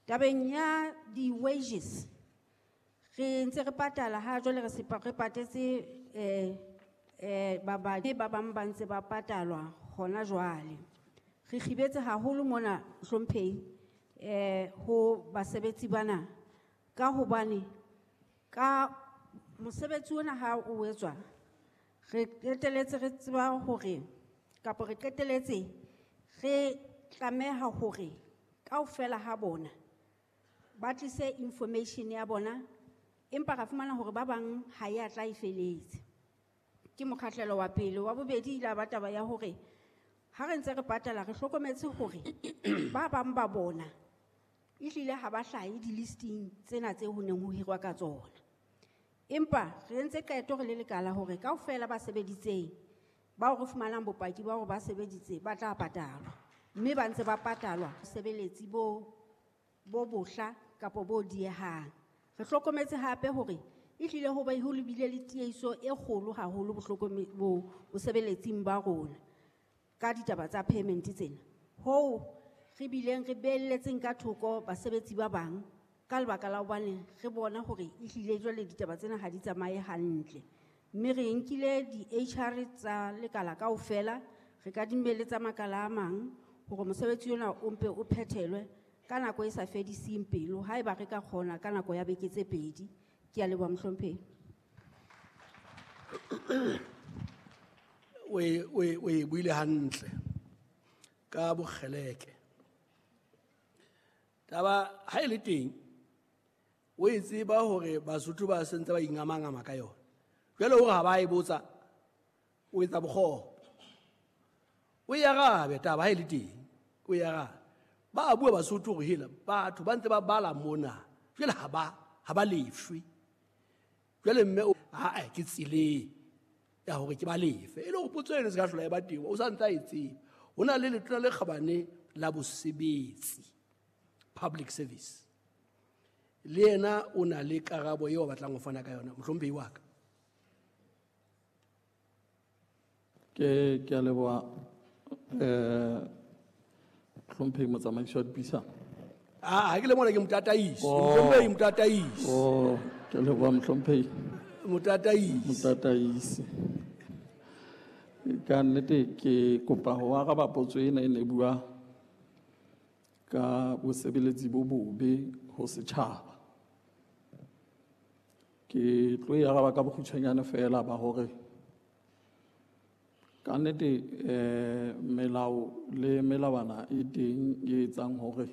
Tabeng ya di-wages, re ntse re patala ha jwale re se re patetse ba bang ba ntse ba patalwa hona jwale. Re kgibetse haholo mona Hlomphehi ho basebetsi bana ka hobane ka mosebetsi ona ha o etswa re qeteletse re tseba hore kapa re qeteletse re tlameha hore kaofela ha bona ba tlise information ya bona, empa ra fumana hore ba bang ha ya tla e feletse. Ke mokgahlelo wa pele. Wa bobedi ile ba taba ya hore ha re ntse re patala re hlokometse hore ba bang ba bona ehlile ha ba hlahe di-listing tsena tse ho neng ho hirwa ka tsona. Empa re entse qeto re le lekala hore kaofela ba sebeditseng bao re fumanang bopaki ba hore ba sebeditse ba tla patalwa, mme ba ntse ba patalwa sebeletsi bo bohla kapa bo diehang. Re hlokometse hape hore ehlile ho be ho lebile le tiehiso e kgolo haholo bosebeletsing ba rona ka ditaba tsa payment tsena. Hoo re bileng re beelletseng ka thoko basebetsi ba bang ka lebaka la hobane re bona hore ehlile jwale ditaba tsena ha di tsamaye hantle. Mme re nkile di-HR tsa lekala kaofela, re kadimme le tsa makala a mang hore mosebetsi ona o mpe o phethelwe ka nako e sa fediseng pelo, haeba re ka kgona ka nako ya beke tse pedi. Ke a leboha Mohlomphehi. O e buile hantle ka bokgeleke. Taba ha e le teng, o e tseba hore Basotho ba sentse ba ingamangama ka yona. Jwale hore ha ba e botsa, o etsa bokgopo. O e arabe taba ha e le teng, o e arabe. Ba bua Basotho hore hela batho ba ntse ba bala mona, jwale ha ba lefwe. Jwale mme ha ke tseleng ya hore ke ba lefe. E le hore potso eno se ka hlola e ba teng, o sa ntse a e tseba. Ho na le letona le kgabane la bosebetsi, public service. Le yena o na le karabo eo a batlang ho fana ka yona, mohlomphehi wa ka. Ke a leboha Mohlomphehi motsamaisi wa dipuisano. Ha ke le mona ke motataisi. Mohlomphehi motataisi. Oh, ke leboha Mohlomphehi. Motataisi. Motataisi. Ka nnete ke kopa ho araba potso ena e ne bua ka bosebeletsi bo bobe ho setjhaba. Ke tlo e araba ka bokgutshwanyane fela ba hore ka nnete melao le melawana e teng e etsang hore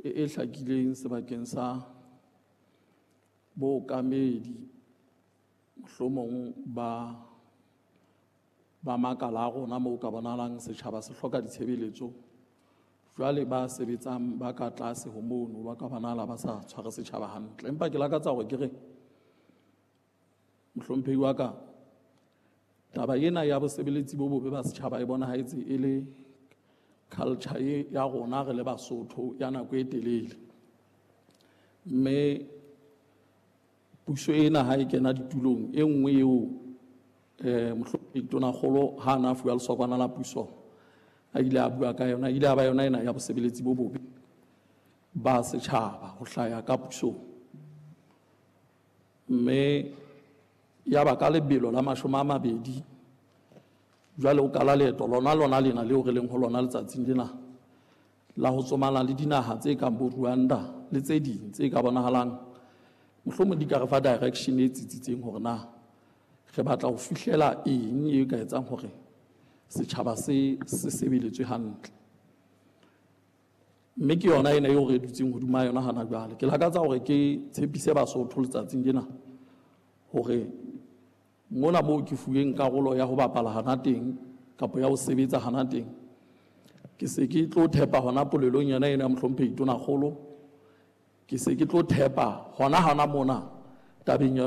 e hlakileng sebakeng sa bookamedi mohlomong ba makala a rona moo ka bonahalang setjhaba se hloka ditshebeletso. Jwale ba sebetsang ba ka tlase ho mono ba ka bonahala ba sa tshware setjhaba hantle. Empa ke lakatsa hore ke re mohlomphehi wa ka, taba ena ya bosebeletsi bo bobe ba setjhaba e bonahetse e le culture ya rona re le Basotho ya nako e telele. Mme puso ena ha e kena ditulong e nngwe eo mohlomphehi Tonakgolo ha na fuwa lesokwana la puso a ile a bua ka yona, ile a ba yona ena ya bosebeletsi bo bobe ba setjhaba ho hlaya ka pusong. Mme ya ba ka lebelo la 20 jwale o kala leeto lona lena leo re leng ho lona letsatsing lena la ho tsomana le dinaha tse kang bo Rwanda le tse ding tse ka bonahalang mohlomong di ka re fa direction e tsitsitseng hore na re batla ho fihlela eng e ka etsang hore setjhaba se sebeletswe hantle. Mme ke yona ena eo re dutseng hodima yona hana jwale. Ke lakatsa hore ke tshepise Basotho letsatsing lena hore mona moo ke fuweng karolo ya ho bapala hana teng kapa ya ho sebetsa hana teng, ke se ke tlo thepa hona polelong yona ena ya mohlomphehi Tonakgolo, ke se ke tlo thepa hona mona tabeng yona